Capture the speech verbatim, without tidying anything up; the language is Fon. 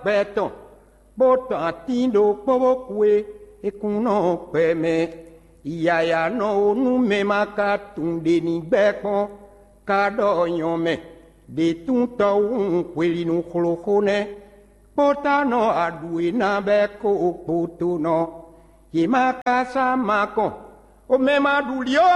gbɛ tɔn, bó tɔn atín ɖokpó bó kú é, é kún nɔ gbɛ mɛ. Yǎyá nɔ ó nú mɛ ma ka tunwun ɖe ní gbɛ́ kpɔ́n, ka ɖɔ nyɔ mɛ ɖě tún tɔwún hwelinu xloxó nɛ́, kpótánɔ aɖǔ e ná bɛ́ kó gbotonɔ. Yě ma ka sá ma kɔn, o mɛ ma ɖu li ó.